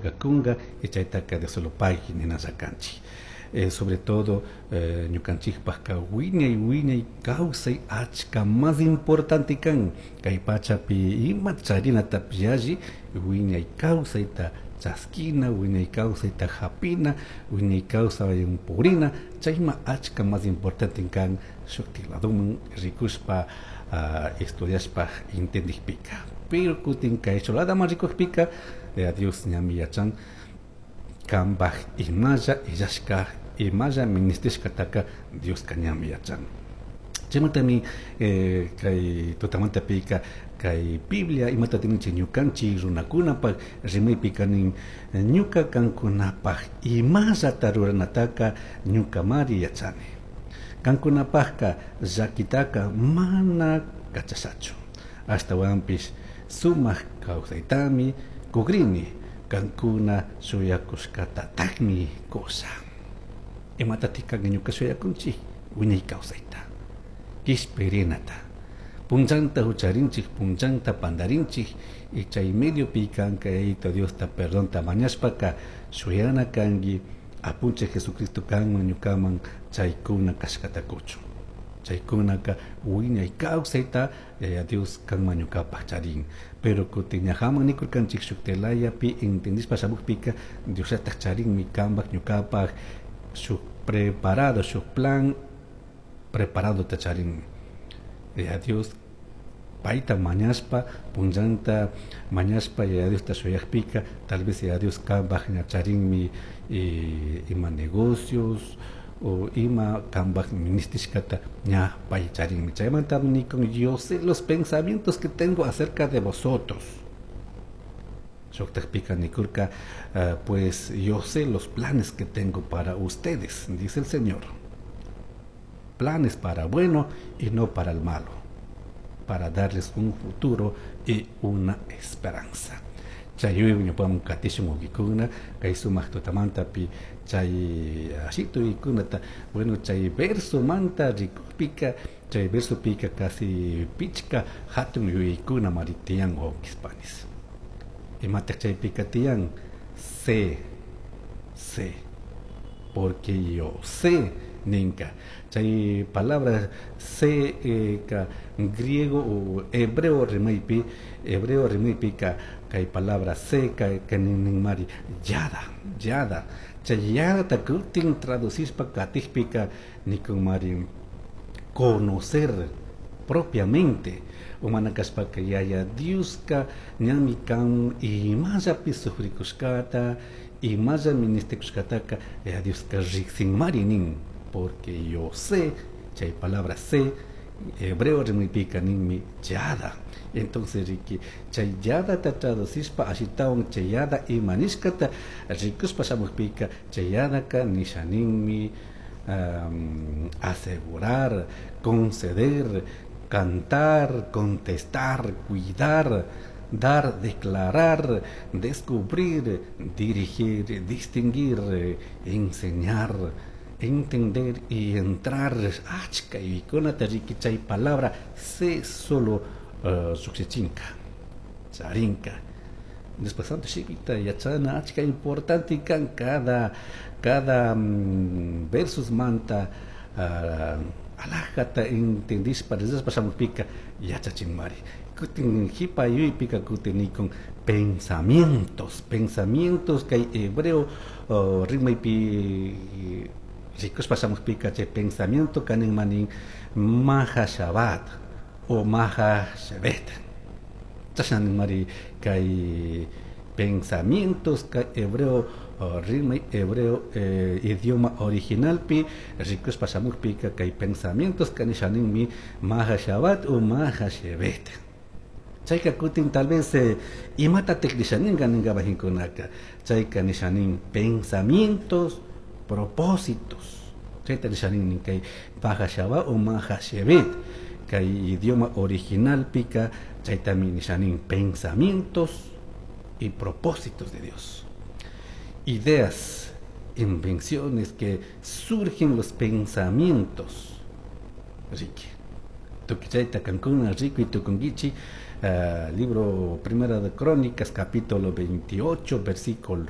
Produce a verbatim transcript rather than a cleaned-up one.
Señorqa kunqa y chaytaqa Dioslopaqui ninalla kanchik. Eh, sobre todo eh, ñukanchikpaqqa wiñay wiñay kawsay achka más importante kan kay pachapi ima charinatapish yalli wiñay kawsayta chaskina, wiñay kawsayta hapina, wiñay kawsaywan purina, chayma achka más importante kan shuktik ladoman rikushpa uh, estudiashpa entendikpika. Pero kutin kay ladaman rikukpika eh, Dios ñami yachan kanpaj imalla illashka, imalla ministishkataka Dioska ñami yachan. Chaymantami eh, kay tutamantapika kay Biblia imata tininchik ñukanchik runakunapaq rimaypika nin ñuka kankunapaq imallata ruranataka ñukamari yachani. Kankunapaqka llakitaka mana kachashachu. Ashtawanpish sumak kawsaytami kugrini, kankuna shuyakushkatatakmi kusha. Imatatik kanka ñuka shuyakunchik wiñay kawsayta, kishpirinata. Punchanta hucharinchik, punchanta pandarinchik, y chay mediopi kanka Yayito Diosta perdonta mañashpaka shuyana kanki apunchik Jesucristo kanman ñukaman chaykuna kashkata kuchun. Chaykunaka wiñay kawsayta Yaya Dios kanman ñukapaq charin. Pero kutin ñajaman nikurkanchik shuk telayapi entendishpa shamukpika Diosllatak charinmi kanpak ñukapaq shuk preparado, shuk plan preparado ta charin. Yaya Dios payta mañashpa, punllanta mañashpa Yaya Diosta shuyakpika tal vez Yaya Dios kanpak ña charinmi eh, ima negocios o ima kanpak ministishkata ña pay charinmi. Chaymanta nikun yo sé los pensamientos que tengo acerca de vosotros. Shuktakpika nikurka, uh, pues yo sé los planes que tengo para ustedes, dice el Señor. Planes para bueno y no para el malo, para darles un futuro y una esperanza. Chay yuyaywan ñupaman katishun wawkikuna kay sumak tutamantapi chay ashituykunata. Bueno, chay versomanta rikukpika, chay versopika casi pichka hatun yuyaykuna mari tiyan wawkispanis. Imatak chaypika tiyan? Sé, sé, porque yo sé ninka. Chay palabra sé eh, ka griego o hebreo rimaypi, hebreo rimaypika kay palabra sé ka ka nin mari yada, yada. Chay yadata kutin traducishpa katikpika nikun mari conocer propiamente. Umana kashpaka Yaya Dioska ñami kan imallapi sufrikushkata, imalla ministikushkataka Yaya Dioska riksinmari nin, porque yo sé, chay palabra sé, hebreo rimaypika ninmi yada. Entonces riki chay yadata traducishpa ashitawan chay yada ima nishkata rikushpa shamukpika chay yadaka nisha ninmi um, asegurar, conceder, cantar, contestar, cuidar, dar, declarar, descubrir, dirigir, distinguir, enseñar, entender y entrar. Achka yuyaykunata riki chay palabra sé solo uh, lluqshichinka, charinka. Después santo shimita yachana achka importante kan cada, cada um, versus manta uh, alajata entendishpa rezashpa shamukpika yachachinmari. Kutin hipa yuyaypika kutin nikun pensamientos, pensamientos kay hebreo uh, rimaypi rikushpa shamukpika chay pensamiento kanin manin mahashabat o mahashevet. Chashna mari kay pensamientos kay hebreo uh, rimay hebreo eh, idioma originalpi rikushpa shamukpika kay pensamientos kanishaninmi mahashabat o mahashevet. Chayka kutin tal vez eh, imata nishaninka ninka bajinkunaka chayka nishanin pensamientos, propósitos. Chayta nishanin kay mahashabat o mahashevet kay idioma originalpika chaytami nishanin pensamientos y propósitos de Dios. Ideas, invenciones que surgen los pensamientos. Ricky. Tukichayta kankuna, rico y tukungichi, uh, libro Primera de Crónicas, capítulo veintiocho, versículo